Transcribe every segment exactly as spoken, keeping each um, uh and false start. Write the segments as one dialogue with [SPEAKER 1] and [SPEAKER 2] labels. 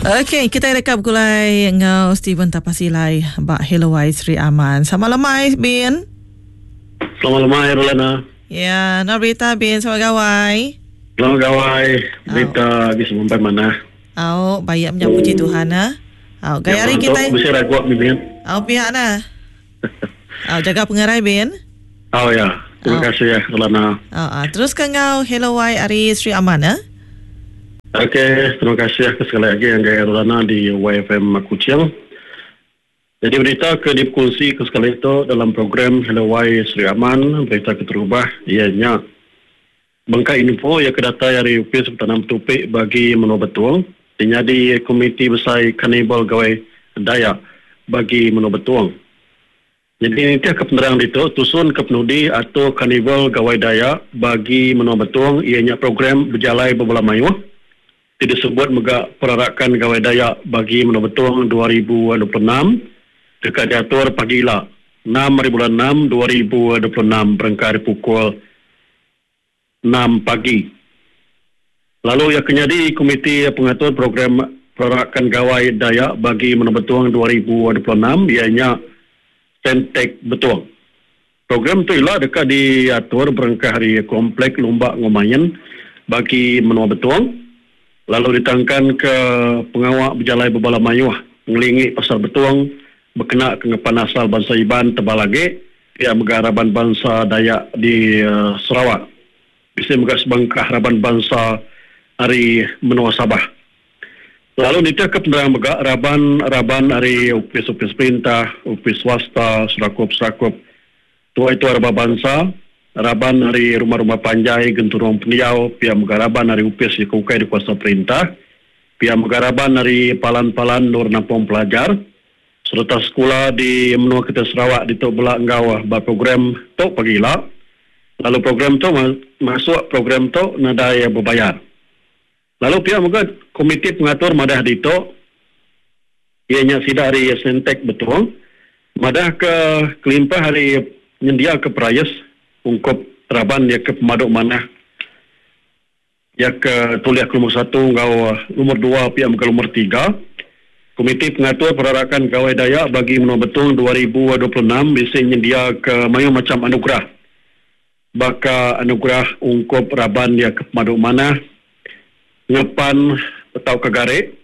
[SPEAKER 1] Okey, kita deka begulai enggau Steven Tapasilai ba Hello Wai Sri Aman. Selamat lemai, Bin.
[SPEAKER 2] Selamat lemai, Rolana.
[SPEAKER 1] Ya, nama berita, Bin? Selamat gawai.
[SPEAKER 2] Selamat gawai. Berita agi semampai manah.
[SPEAKER 1] Au, bayak menya puji Tuhan ah. Au, gaya hari
[SPEAKER 2] kita. Bisi raguak Bin.
[SPEAKER 1] Au pihak nah. Au, jaga pengerai Bin.
[SPEAKER 2] Au ya. Terima kasih ya, Rolana.
[SPEAKER 1] Au, ah. terus ke enggau Hello Wai ari Sri Aman ah.
[SPEAKER 2] Okey, terima kasih ke sekali lagi yang gaya Rolana di Y F M Kuching. Jadi berita ke dikongsi ke sekali itu dalam program Hello Y Sri Aman, berita keterubah ianya bengkai info yang kedatai dari Upis Pertanam Tupik bagi Menua Betuang, jadi Komiti Besar Karnival Gawai Dayak bagi Menua Betuang. Jadi ini ke penerang itu tusun ke penudi atau Karnival Gawai Dayak bagi Menua Betuang ianya program berjalai berbola mayuh. Disebut mega perarakan Gawai Dayak bagi Menua Betuang dua ribu dua puluh enam dekat diatur pagi ila enam hari bulan enam dua ribu dua puluh enam berengkar pukul enam pagi. Lalu yang kenyadi Komiti Pengatur Program Perarakan Gawai Dayak bagi Menua Betuang dua ribu dua puluh enam ianya Sentek Betuang. Program tu ialah dekat diatur berengkar hari Komplek Lumba Ngomayan bagi Menua Betuang. Lalu ditangkan ke pengawak berjalai berbala mayuh ngelingi pasar Betuang berkena ke ngepan asal bangsa Iban tebal lagi pihak mega raban bangsa Dayak di uh, Sarawak. Bisa mega sebengkah raban bangsa ari Menua Sabah. Lalu nitih ke penerang mega raban-raban ari upis-upis perintah, upis swasta, serakup-serakup tua itu raban bangsa, raban ari rumah-rumah panjai genturung pendiau, pihak mega raban ari upis di kukai di kuasa perintah, pihak mega raban ari palan-palan nur nampung pelajar serta sekolah di menua kita Sarawak di Tok Belak enggau ba program tok pagi ila. Lalu program tu masuk program tu nadai berbayar. Lalu pihak mega komiti pengatur madah di tok ianya sida ari Sentek Betuang madah ke kelimpah hari nyendia ke perayas ungkup raban dia ke pemaduk manah ya ke tuliah ke nombor satu enggau nombor dua pihak mega nombor tiga. Komiti Pengatur Perarakan Gawai Dayak bagi Menua Betuang dua ribu dua puluh enam bisi nyendia ke mayuh macam anugerah. Baka anugerah ungkup raban dia ke pemaduk manah ngepan atau ke garik,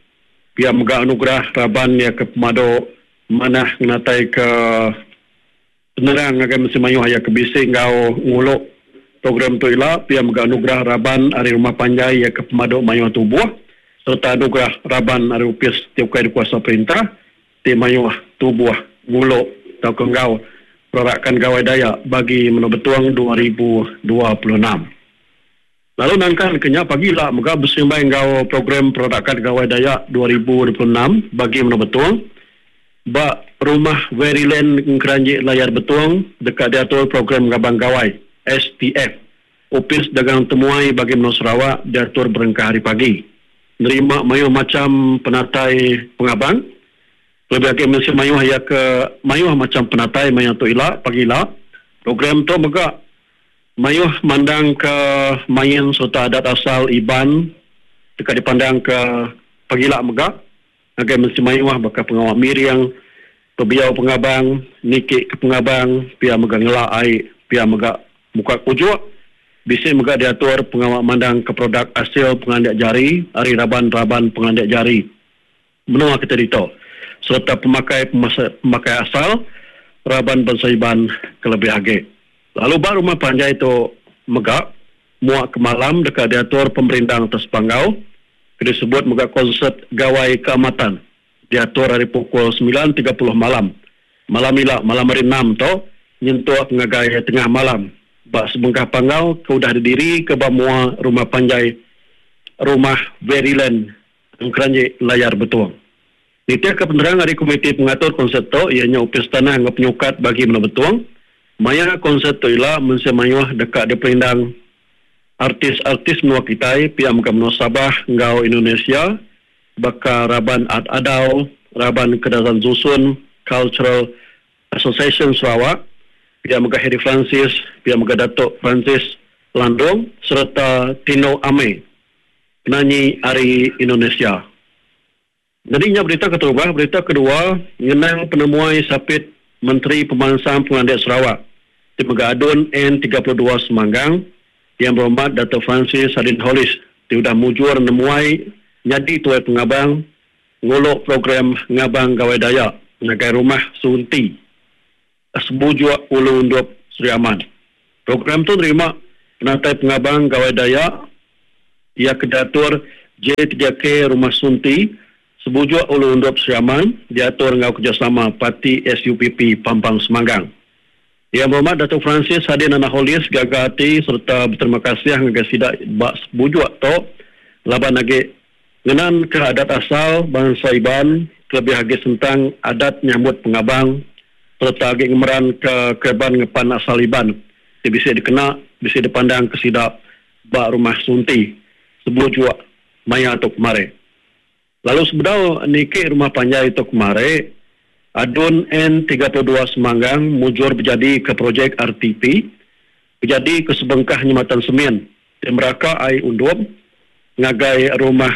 [SPEAKER 2] pihak mega anugerah raban dia ke pemaduk manah ngenatai ke penerang ngagai mesti mayuh aya ke bisi enggau nguluk program tu ila, pihak mega anugerah raban ari rumah panjai ya ke pemaduk mayuh tubuh serta anugerah raban ari upis ti ukai dikuasa perintah ti mayuh tubuh nguluk tau ke enggau perarakan Gawai Dayak bagi Menua Betuang dua ribu dua puluh enam. Lalu nangkan kenya pagi lah mega bersimbang enggau program perarakan Gawai Dayak dua ribu dua puluh enam bagi Menua Betuang ba Rumah Veryland Keranji Layar Betuang dekat diatur program Gabang Gawai S T F. Upis Dagang Temuai bagi Menua Sarawak diatur berengkah hari pagi. Nerima mayuh macam penatai pengabang. Lebih lagi mesti mayuh ya ke mayuh macam penatai mayuh tu ila pagi ila. Program tu mega mayuh mandang ke main serta adat asal Iban dekat dipandang ke pagi ila mega. Agai mesti mayuh bakal pengawak miring, pebiau pengabang, nikik ke pengabang, pia mega ngelak air, pia mega muka kujuk. Bisi mega diatur pengawak mandang ke produk hasil pengandak jari, ari raban-raban pengandak jari. Menua kita dito. Serta pemakai pemakai asal, raban bangsa Iban kelebih agi. Lalu ba rumah panjai itu mega, muak ke malam dekat diatur pemerintah atas panggau, disebut mega konsert Gawai Keamatan. Diatur hari pukul sembilan tiga puluh malam. Malam ila, malam hari enam tu, nyentuh ngagai tengah malam. Bak sebengkah panggau ke udah didiri ke bamua rumah panjai Rumah Veryland Keranji Layar Betuang. Nitih ke penerang hari Komiti Pengatur Konsert tu ianya Upis Tanah enggau Penyukat bagi Menua Betuang. Maya konsert tu ila mensia mayuh dekat di perindang artis-artis menua kitai pihak mega menua Sabah enggau Indonesia baka Raban Ad Adau, Raban Kedazan Zusun, Cultural Association Sarawak, pihak mega Harry Francis, pihak mega Datuk Francis Landong serta Tino Ame, penyanyi ari Indonesia. Jadi nya berita keterubah, berita kedua ngenang penemuai sapit Menteri Pemansang Pengelandik Sarawak ti mega ADUN N tiga puluh dua Semanggang yang berhormat Dato' Francis Sadin Holis ti udah mujur nemuai nyadi tuai pengabang nguluk program Ngabang Gawai Dayak ngagai Rumah Sunti Sebujuk Ulu Undup Sri Aman. Program tu nerima penatai pengabang Gawai Dayak ia kedatur J tiga K Rumah Sunti Sebujuk Ulu Undup Sri Aman diatur ngau kerjasama Parti S U P P Pampang Semanggang. Yang berhormat Dato' Francis Sadin Anak Holis gaga hati serta berterima kasih ngagai sidak bak sebujuk tu laban lagi ngenan ke adat asal bangsa Iban kelebih agi sentang adat nyambut pengabang serta agi ngemeran ke kereban ngepan asal Iban ti bisa dikena bisa dipandang ke sidak bak Rumah Sunti sebujuk maya tu kemari. Lalu sebedau niki rumah panjai itu kemari, ADUN N tiga puluh dua Semanggang mujur berjadi ke projek R T P, berjadi ke sebengkah nyematan semen di Meraka Ai Undum ngagai rumah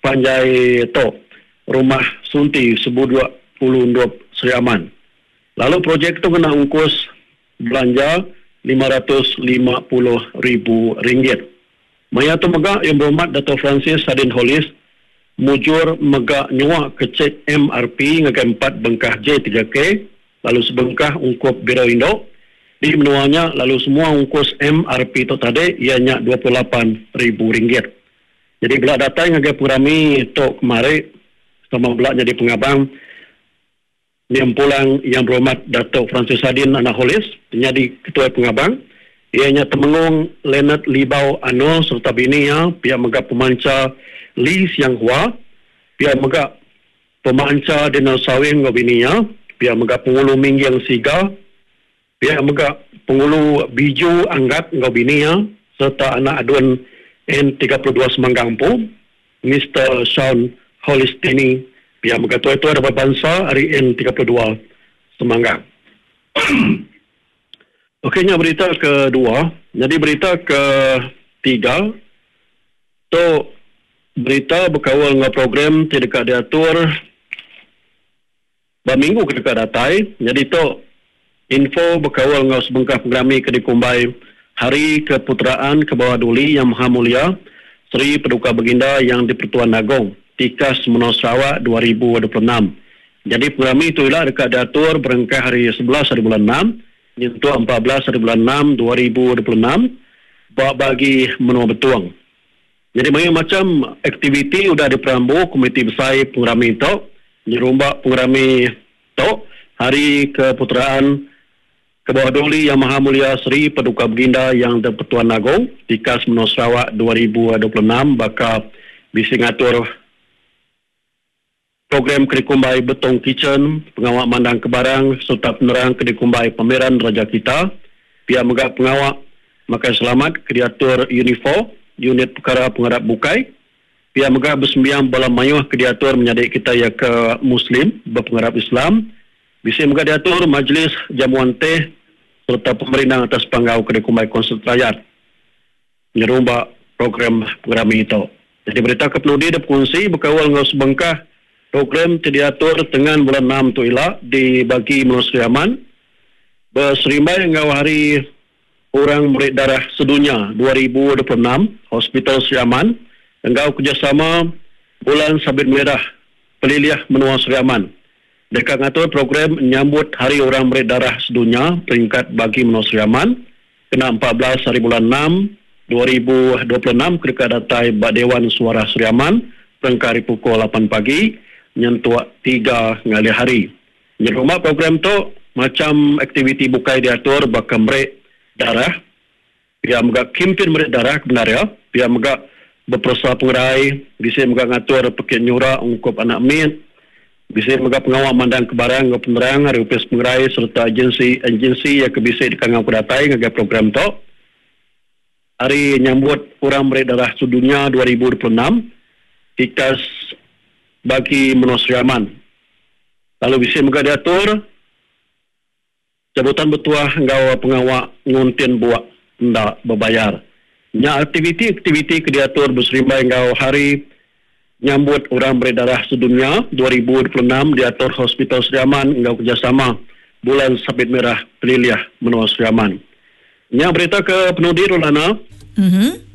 [SPEAKER 2] panjai tu, Rumah Sunti Sebujuk Ulu Undup Sri Aman. Lalu projek tu kena ungkus belanja lima ratus lima puluh ribu ringgit. Maya tu mega yang berhormat Dato' Francis Sadin Holis mujur mega nyua ke cek M R P ngagai empat bengkah J tiga K lalu sebengkah ungkup Biro Indo di menuanya lalu semua ungkus M R P tu tadi ianya dua puluh lapan ribu ringgit. Jadi bila datang ngagai purami tu kemari sama belak jadi pengabang yang pulang yang berhormat Dato' Francis Sadin Anak Holis menjadi ketua pengabang ianya Temenggong Leonard Libau Ano serta bininya pihak mega pemanca Lee Siang Hua, pihak mega pemanca Daniel Sawing ngau bininya, pihak mega pengulu Mingging Siga, pihak mega pengulu Biju Anggat ngau bininya serta anak ADUN N tiga puluh dua Semanggang Pu, Mister Sean Holistini, pihak mega tua-tua dapat bangsa hari N tiga puluh dua Semanggang. Okeynya berita kedua, jadi berita ketiga tu berita berkawal dengan program tidak diatur berminggu ketika datai. Jadi tu info berkawal dengan sebengkah program ke dikumbai Hari Keputeraan ke Bawah Duli Yang Maha Mulia Seri Paduka Baginda Yang di-Pertuan Agong Tikas Menua Sarawak dua ribu dua puluh enam. Jadi program itu ialah dekat diatur berengkah hari sebelas hari bulan enam nyentuh empat belas hari bulan enam dua ribu dua puluh enam bak bagi menua betuang. Jadi banyak macam aktiviti sudah diperambu Komiti Besar Pengerami itu, nyerumbak Pengerami itu, Hari Keputeraan Ke Bawah Duli Yang Maha Mulia Seri Paduka Baginda Yang di-Pertuan Agong, Tikas Menua Sarawak dua ribu dua puluh enam, bakal bisa ngatur program Kedikumbai Betong Kitchen, pengawak mandang kebarang serta penerang Kedikumbai Pameran Raja Kita, pihak megak pengawak makan selamat kediatur Unifor, unit perkara pengarap bukai, pihak megah bersembiang bala mayuh kediatur menyadik kita ya ke Muslim berpengarap Islam, bisa megah diatur majlis jamuan teh serta pemerintah atas panggau Kedikumbai Konsert Rakyat nyerumbak program pengerami itu. Jadi berita kepenudi dan pengungsi berkawal dengan sebengkah program diatur dengan bulan enam tu ila di bagi Menua Sri Aman berserimbai dengan hari Orang Murid Darah Sedunia dua ribu dua puluh enam Hospital Sri Aman enggau kerjasama Bulan Sabit Merah Peliliah Menua Sri Aman. Dekat ngatur program menyambut Hari Orang Murid Darah Sedunia peringkat bagi Menua Sri Aman kena empat belas hari bulan enam dua ribu dua puluh enam ketika datai Bak Dewan Suara Sri Aman perengkah hari pukul lapan pagi nyentuh tiga ngalih hari. Nyerumah program tu macam aktiviti bukai diatur bakal merek darah, pihak megak kimpin merek darah kebenar ya, pihak megak berpersa pengerai, bisa megak ngatur pekit nyura ungkup anak mit, bisa megak pengawal mandang kebarang ngau penerang hari upis pengerai serta agensi-agensi yang kebisa di kangau kedatai ngagai program tu. Hari nyambut orang merek darah sedunia dua ribu dua puluh enam tikas bagi Menua Sri Aman. Lalu bisa megak diatur cabutan bertuah ngau pengawak nguntin buak ndak berbayar. Nya aktiviti-aktiviti ke diatur berserimbai ngau hari Nyambut Orang Meri Darah Sedunia dua ribu dua puluh enam diatur Hospital Sri Aman enggau kerjasama Bulan Sabit Merah Pelilih Menua Sri Aman. Nya berita ke penudi Rolana.
[SPEAKER 1] Mhm.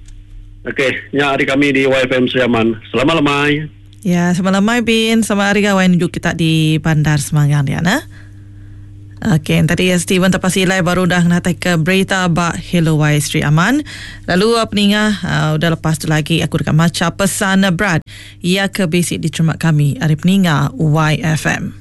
[SPEAKER 2] Okey, nya hari kami di Y F M Sri Aman. Selamat lemai.
[SPEAKER 1] Ya, selamat lemai Bin. Selamat hari gawai nunjuk kita di Bandar Semangang dia nah. Okey, tadi Steven Tapasilai baru dah ngatai ke berita ba Hello Y Sri Aman. Lalu peningah uh, udah lepas tu lagi aku dekat maca pesan berat ia ke basic diterima kami hari peningah Y F M.